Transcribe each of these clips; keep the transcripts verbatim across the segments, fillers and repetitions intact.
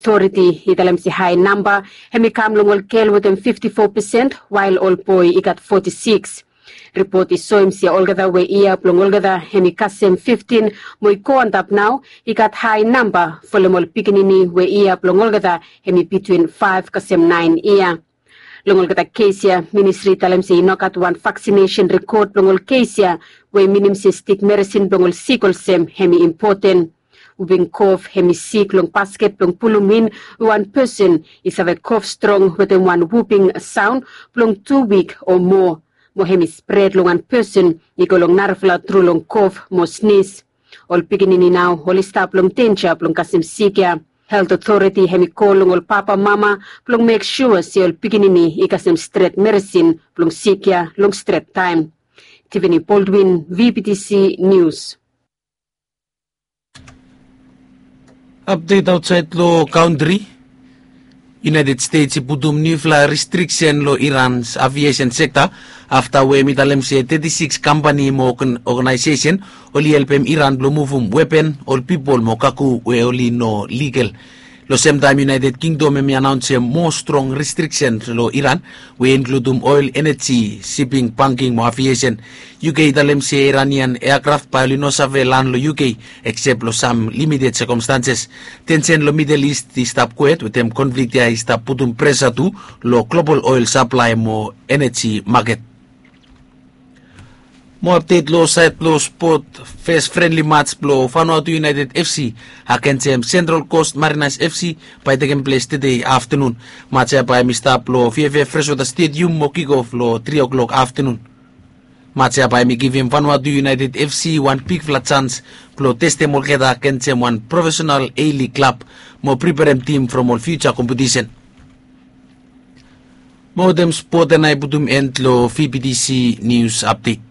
Otoriti i talem se hae namba hem i kam long ol gel wetem fifti fo pesen, wael ol boe i gat foti siks. Ripot i soem se olgeta we yia blong olgeta hem i kasem fiftin mo i go antap nao, i gat hae namba folem ol pikinini we yia blong olgeta hem i bitwin faef kasem naen yia. Long olgeta kes ya, ministri i talem se i no gat wan vaksinesen rekod blong ol kes ya, we i minim se stik meresin blong ol sik olsem hem i impoten. Wuping kof hem i sik long basket blong pulum in we wan pesen i save kof strong wetem wan wuping saon blong tu wik o moa, mo hem i spred long wan pesen i go long narafala tru long kof mo snis. Ol pikinini nao oli stap long denja blong kasem sik ya. Helt otoriti hem i kol long ol papamama blong mek sua se ol pikinini i kasem stret meresin blong sik ya long stret taem. Tivini Boldwin, V B T C Nius. Apdet aotsaed long kantri. United States i putum niufala restriksen long Iran's aviesen sekta afta we hem i talem se teti siks kampani mo oganaesesen oli helpem Iran blong muvum wepen, ol pipol mo kago we oli no ligal. Long semtaem United Kingdom hem i anaonsem moa strong restriksen long Iran we i inkludum oel, eneji, siping, banking mo aviesen. U K i talem se Iranian eakraf bae oli no save lan long U K eksep long sam limited sekomstanses. Tensen long Midel Ist i stap kwet wetem konflik ya i stap putum presa tu long global oel saplae mo eneji maket. Moa apdet long saed blong spot. Fes frenli mats blong Vanuatu United F C agensem Central Coast Mariners F C bae i tekem ples tede aftenun. Mats ya bae hem i stap long V F F Freshwater Stadium mo kikof long tri o'clock aftenun. Mats ya bae hem i givim Vanuatu United F C wan bigfala jans blong testem olgeta agensem wan profesenal A-League klab mo preperem tim from ol fiuja kompetisen. Mo wetem spot ya nao i putum en long V B T C Nius Apdet.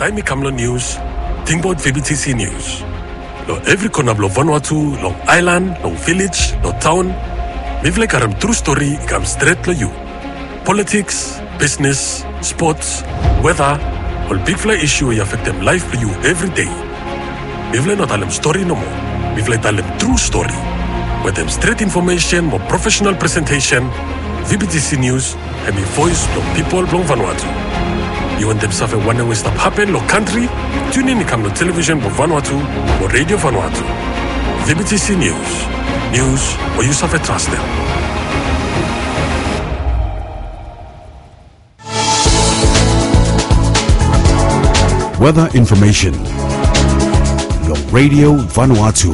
Taem i kam long nius, tingbaot V B T C Nius. Long evri kona blong Vanuatu, long aelan, long vilej, long taon, mifala i karem tru stori i kam stret long yu. Politiks, bisnes, spots, weta, ol bigfala isu we i afektem laef blong yu evri dei. Mifala i no talem stori nomo. Mifala i talem tru stori. Wetem stret infomesen mo profesenal presentesen, V B T C Nius hem i voes blong pipol blong Vanuatu. Yu wantem save wanem we i stap hapen long kantri? Tunin i kam long televisen blong Vanuatu mo Redio Vanuatu. V B T C Nius. Nius we yu save trastem. Weather information long Radio Vanuatu.